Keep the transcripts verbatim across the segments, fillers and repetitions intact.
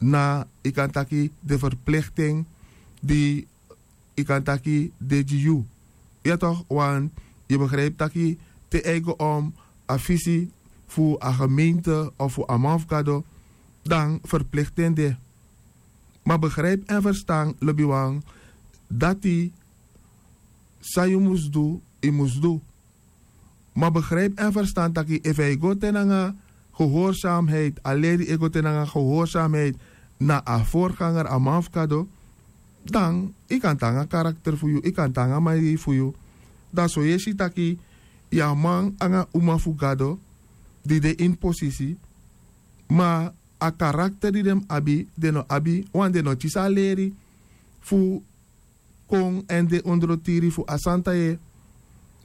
na yu kan taki de ferplikting di yu kan taki de gi yu. Ya tok' want yu begripi taki te a e go om a fisi fu a gemeente of fu a man fu gado, dan ferplikting de. Ma begripi èn ferstan lobiwan, dati san yu mus du, yu mus du. Ma begripi èn ferstan taki efu a e go te nanga gehorsamiheid a leri e go te nanga gehorsamiheid na a vorganger a man fu gado, dan yu kan tan nanga karakter fu yu, yu kan tan nanga maniri fu yu. Dan so yu e si taki yu a man nanga uma fu gado di de ini posisi, ma a karakter di den mus abi den no abi, want den no kisi a leri fu kon èn de ondro tiri fu a santa yeye.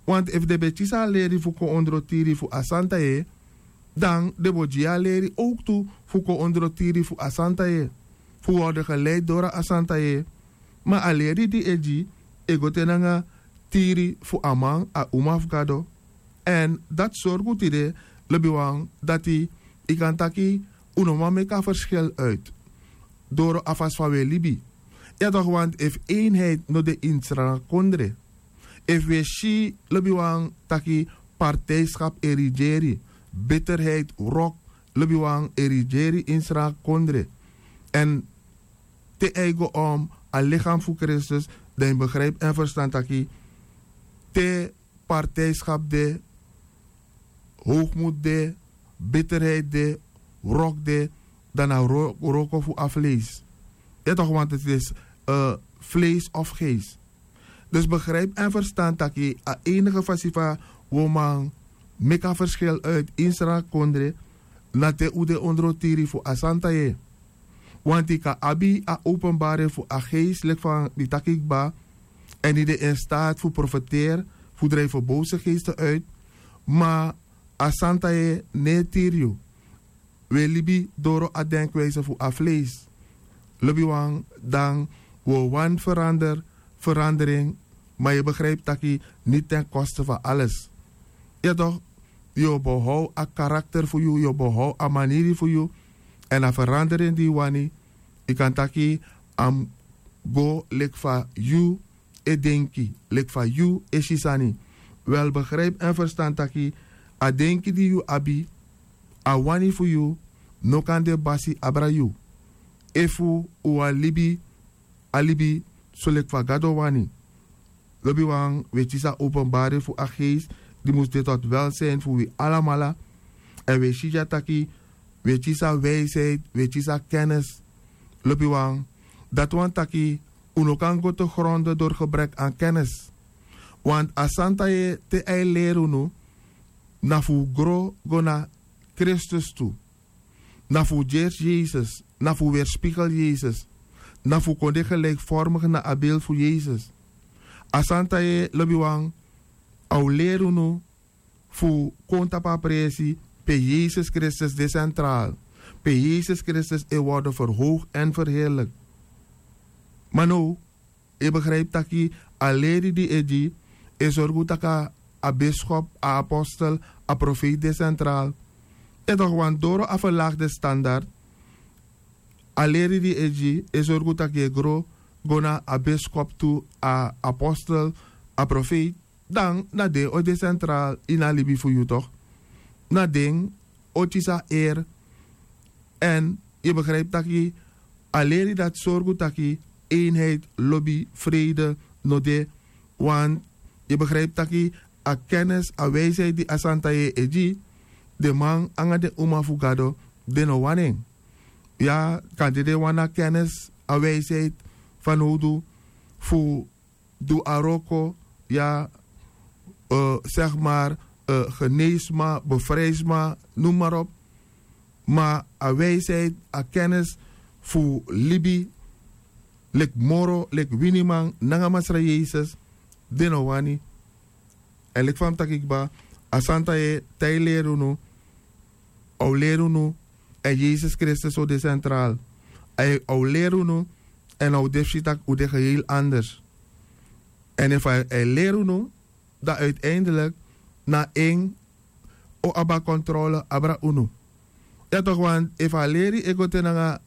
Want efu den ben kisi a leri fu kon ondro tiri fu a santa yeye, dan den bo gi yu a leri owktu fu kon ondro tiri fu a santa yeye, fu worden geleidi doro a santa yeye. Ma a leri di e gi e go te nanga tiri fu a man, a uma fu gado. Èn dati sorgu tide lobiwan dati yu kan taki un no man meki a ferskil uit doro a fasi fa un e libi. Ya tok' want efu einheid no de ini sranga kondre, efu un e si lobiwan taki partijskap e rigeri, bitterheid, wrok, lobiwan e rigeri ini sranga kondre, èn te a e go om a lichaam fu kristus, dan yu begripi èn ferstan taki te partijskap de, hoogmoed de, bitterheid de, wrok de, dan na wroko fu a vlees. Ya tok' want het is vlees of geest. Dus begripi èn ferstan taki a enige fasi fa un o man meki a ferskil uit ini sranga kondre, na te un de ondro tiri fu a santa yeye. Want yu kan abi a openbarheid fu a geest leki fa mi taki kba, èn yu de in staat fu profeteri, fu drijfi bose geesten uit, ma a santa yeye no e tiri yu. Un e libi doro a denkwijse fu a vlees. Lobiwan, dan un o wani verander, verandering, ma yu begripi taki niti ten koste fu ales. Ya tok', yu o behow a karakter fu yu, yu o behow a maniri fu yu. Èn a verandering di yu wani, yu kan taki a mus go leki fa yu e denki, leki fa yu e si sani. Wel begripi èn ferstan taki a denki di yu abi, a wani fu yu no kan de basi abra yu, efu un wani libi a libi soleki fa gado wani. Lobiwan, un e kisi a openbari fu a geest di mus de tot welsin fu wi alamala. Èn un e si dya taki un e kisi a wijsheid, un e kisi a kennis. Lobiwan, dati wani taki un no kan go te gronde dori gebrek an kennis. Want a santa yeye te a e leri unu, na fu un gro go na kristus tu. Na fu un gersi yesus, na fu un werspigel yesus, na fu un kon de gelikformigi na a beli fu yesus. A santa yeye lobiwan, a o leri unu fu kon tapu a presi pe yesus kristus de sentral, pe yesus kristus e worden verhoogd en verheerlijk. Ma now, e begrijpi taki a leri di e gi e sorgu taki a biskop, a apostel, a profeet de sentral. E tok' wan doro a verlagde standard. A leri di e gi e sorgu taki e gro go na a biskop tu, a apostel, a profeet, dan na den o de sentral ini a libi fu yu tok'. Na den o kisi a eri. Èn yu begrijpi taki a leri dati sorgu taki einheid, lobi, freide no de. Want yu begrijpi taki a kennis, a wijsheid di a santa yeye e gi, den man nanga den uma fu gado, den no wani en. Ya, kande den wani a kennis, a wijsheid fanowdu fu du a wroko, ya, segi mari, geneesma, befrijdisma, noem mari op. Ma a wijsheid, a kennis fu libi leki moro, leki winiman nanga masra yesus, den no wani. Èn leki fa mi taki kba, a santa yeye te a e leri unu, a o leri unu èn yesus kristus o de sentral. A o leri unu èn a o de fu si tak' un de geheel anders. Èn efu a e leri unu, dan uiteindelik na en o abi a kontrole abra unu. Ya tok' want efu a leri e go te nanga